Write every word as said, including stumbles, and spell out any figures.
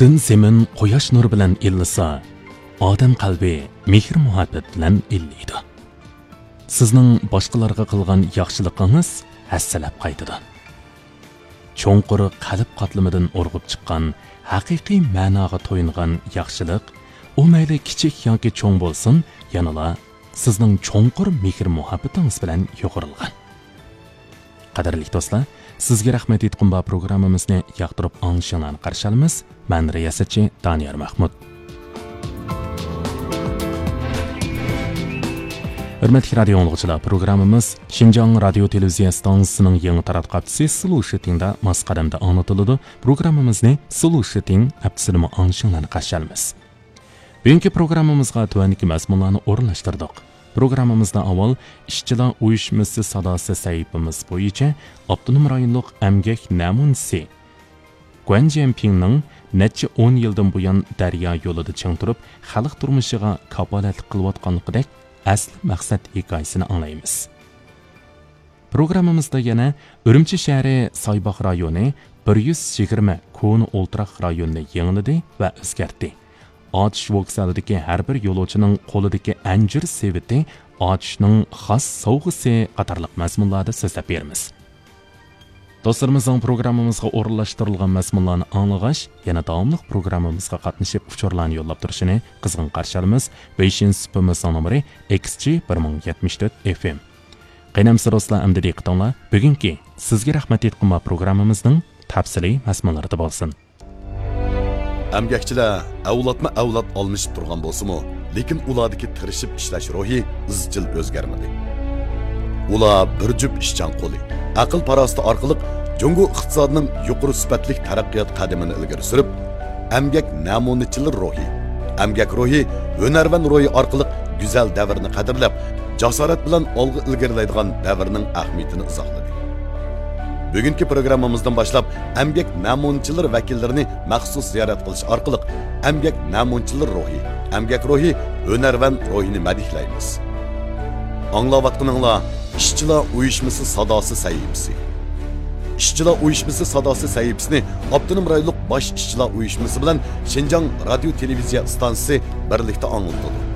پۈتۈن زېمىن قۇياش نۇرى بىلەن ئىللىسا، ئادەم قەلبى مېھىر-مۇھەببەت بىلەن ئىللىيدۇ. سىزنىڭ باشقىلارغا قىلغان ياخشىلىقىڭىز ھەسسىلەپ قايتىدۇ. چوڭقۇر قەلب قاتلىمىدىن ئۇرغۇپ چىققان ھەقىقىي مەناغا تويۇنغان ياخشىلىق، ئۇ مەيلى كىچىك ياكى چوڭ بولسۇن، يەنىلا سىزنىڭ چوڭقۇر مېھىر-مۇھەببىتىڭىز بىلەن يۇغۇرۇلغان. قەدىرلىك دوستلار، سىزگە رەھمەت ئېيتقۇم بار پروگراممىمىزنى ياقتۇرۇپ ئاڭلىشىڭلارنى قارشى ئالىمىز. مەن رىياسەتچى دانىيار مەھمۇد. ھۆرمەتلىك رادىيو ئاڭلىغۇچىلار، پروگراممىمىز شىنجاڭ رادىيو تېلېۋىزىيە ئىستانسىسىنىڭ يېڭى تاراتقۇ ھەپتىسى سلو شىتىڭدا ماس قەدەمدە ئاڭلىتىلىدۇ. پروگراممىمىزنى سلو شىتىڭ ھەپتىسىدىمۇ ئاڭلىشىڭلارنى قارشى ئالىمىز. بۈگۈنكى پروگراممىمىزغا تۆۋەندىكى مەزمۇنلارنى ئورۇنلاشتۇردۇق. پروگراممىمىزدا ئاۋۋال ئىشچىلار ئۇيۇشمىسى ساداسى سەھىپىمىز بويىچە ئاپتونوم رايونلۇق ئەمگەك نەمۇنىسى گۇەن جيەنپىڭنىڭ نەچچە ئون يىلدىن بۇيان دەريا يولىدا چىڭ تۇرۇپ، خەلق تۇرمۇشىغا كاپالەتلىك قىلىۋاتقانلىقىدەك ئەسلى مەقسەت ھېكايىسىنى ئاڭلايمىز. پروگراممىمىزدا يەنە ئۈرۈمچى شەھىرى سايباغ رايونى بىر يۈز يىگىرمە كونا ئولتۇراق رايونىنى يېڭىلىدى ۋە ئۆزگەرتتى. ئاتۇش ۋوگزالىدىكى ھەر بىر يولۇچىنىڭ قولىدىكى ئەنجۈر سېۋىتى ئاتۇشنىڭ خاس سوۋغىسى قاتارلىق مەزمۇنلاردا سۆزلەپ بېرىمىز. دوستلىرىمىزنىڭ پروگراممىمىزغا ئورۇنلاشتۇرۇلغان مەزمۇنلارنى ئاڭلىغاچ، يەنە داۋاملىق پروگراممىمىزغا قاتنىشىپ ئۇچۇرلارنى يوللاپ تۇرۇشىنى قىزغىن قارشى ئالىمىز. ۋېيشىن سۇپىمىزنىڭ نومۇرى ئېكس جى بىر مىڭ يەتمىش تۆت ئېف ئېم. قېنى ئەمىسە دوستلار، ئەمدى دىققىتىڭلار بۈگۈنكى سىزگە رەھمەت ئېيتقۇم بار پروگراممىمىزنىڭ تەپسىلىي مەزمۇنلىرىدا بولسۇن. ئەمگەكچىلەر ئەۋلادمۇ ئەۋلاد ئالمىشىپ تۇرغان بولسىمۇ، لېكىن ئۇلاردىكى تىرىشىپ ئىشلەش روھى ئىزچىل ئۆزگەرمىدى. ئۇلار بىر جۈپ ئىشچان قولى، ئەقىل-پاراسىتى ئارقىلىق جۇڭگو ئىقتىسادىنىڭ يۇقىرى سۈپەتلىك تەرەققىيات قەدىمىنى ئىلگىرى سۈرۈپ، ئەمگەك نەمۇنىچىلىرى روھى، ئەمگەك روھى، ھۈنەرۋەن روھى ئارقىلىق گۈزەل دەۋرنى قەدىرلەپ، جاسارەت بىلەن ئالغا ئىلگىرىلەيدىغان دەۋرنىڭ ئەھمىيىتىنى ئىزاھلىدى. بۈگۈنكى پروگراممىمىزدىن باشلاپ ئەمگەك نەمۇنىچىلىرى ۋەكىللىرىنى مەخسۇس زىيارەت قىلىش ئارقىلىق ئەمگەك نەمۇنىچىلىرى روھى، ئەمگەك روھى، ھۈنەرۋەن روھىنى مەدھىيلەيمىز. ئاڭلاۋاتقىنىڭلار ئىشچىلار ئۇيۇشمىسى ساداسى سەھىپىسى. ئىشچىلار ئۇيۇشمىسى ساداسى سەھىپىسىنى ئاپتونوم رايونلۇق باش ئىشچىلار ئۇيۇشمىسى بىلەن شىنجاڭ رادىيو تېلېۋىزىيە ئىستانسىسى بىرلىكتە ئاڭلىتىدۇ.